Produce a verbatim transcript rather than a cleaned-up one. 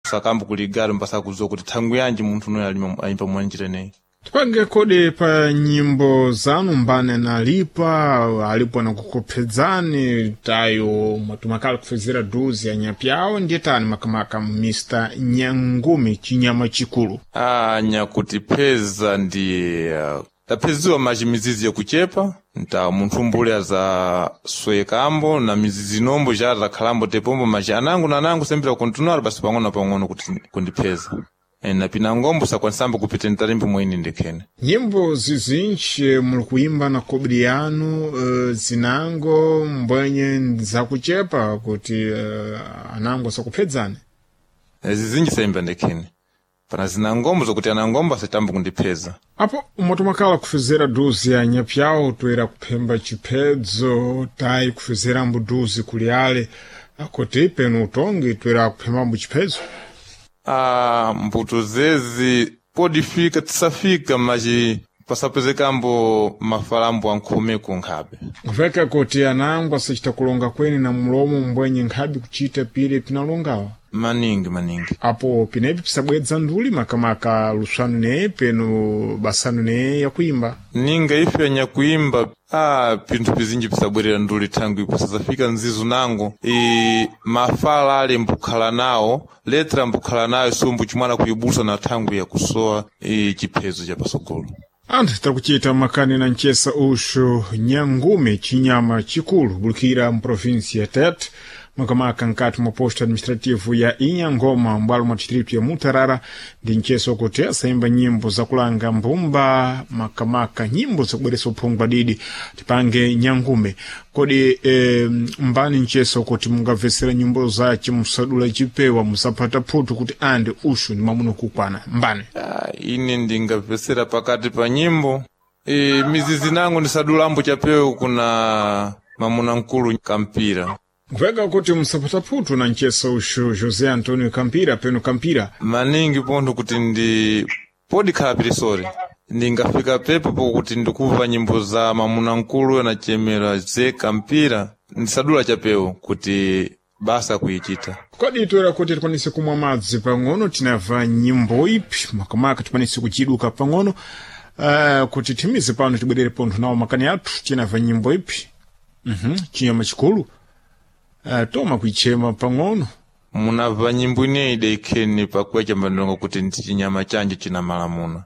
Sakambo kuligalo mpasa kuzowa kuti thangwi yanji munthu unoyo alima ayimba mwanjira ineyi. Tipange kodi pa nyimbo zanu mbane nalipa alipo nakukuphedzani tayo mwatumakala kufezera duzi ya nyapyawo ndiye tani makamaka Mister Nyangumi chinyama chikulu. Ah, nyakutipheza ndi uh, tapheziwa maci mizizi yakuchepa nta munthu mbule azaswekambo na mizizi inombo ja takhalambo tepombo maci anango na anango sembera kontinuar basi pang'ono na pang'ono kuti kundipheza. E, na pinangombo sakwanisambo kupita ntalimbo mwini ndikhene. Nyimbo zizinji muli kuimba na kobiri yanu uh, zinango mbwenye zakuchepa kuti uh, anango sakuphedzani. E, zizinji sayimba ndikhene. Pana zinangombo zokuti anangombo asatambo kundipheza. Apo umatumakala kufezera duzi ya nyapyawo toera kuphemba chiphedzo tayi kufezerambo duzi kuli ale kuti penu utongi toera kuphembambo chiphedzo. Ah, mbuto zezi podifika tisafika maci pasapezekambo mafalambo ankhomeko nkhabe. Kupeka kuti anango asachita kulonga kweni na mulomo mbwenye nkhabe kuchita pile pinalongawa. Maningi maningi. Apo pinepi pisabwedza nduli makamaka luswanu neye penu basanu neye yakuimba. Ninga ife anyakuimba ah, pinthu pizinji pisabwerera nduli thangwi pasasafika nzizu nango e, mafala ale mbukhala nawo letra mbukhala nayo sumbu chimwana kuibusa na thangwi yakusowa e, chiphezo cha pasogolo. Anthu takuchita makani na mchesa uxu Nyangume chinyama chikulu bulikira mprovinsi ya Tete makamaka nkati mwa posto administrativo ya Inhangoma mbwalo mwa distrito ya Mutarara ndi mcheso kuti asayimba nyimbo zakulanga mbumba makamaka nyimbo zakubweresa uphungu adidi tipange Nyangume kodi e, mbani mcheso kuti mungabvesera nyimbo zace musadula chipewa musapata phutu kuti ande uxu ni mamuno kukwana mbani. Ah, ine ndingapesera pakati pa nyimbo e, mizizi nango ndisadulambo chapewo kuna mamuna mkulu Kampira. Kupeka kuti musapata phutu na mcheso uxu José Antonio Campira peno Campira. Maningi pontho kuti ndi podikhala pirisori ndingafika pepo pokuti ndikuva nyimbo za mamuna mkulu anachemera ze Kampira ndisadula chapewo kuti basa kuichita. Kodi toera kuti tikwanise kumwa madzi pang'ono tinamva nyimbo ipi makamaka tikwanise kuchiduka pang'ono uh, kuti timize pano tibwerere pontho nawo makani athu tinamva nyimbo ipi mm chinyama chikulu uh, toma kuichema pang'ono. Munamva nyimbo ineyi idekheni pakuya chambandonga kuti ndi chinyama chanje china malamuna.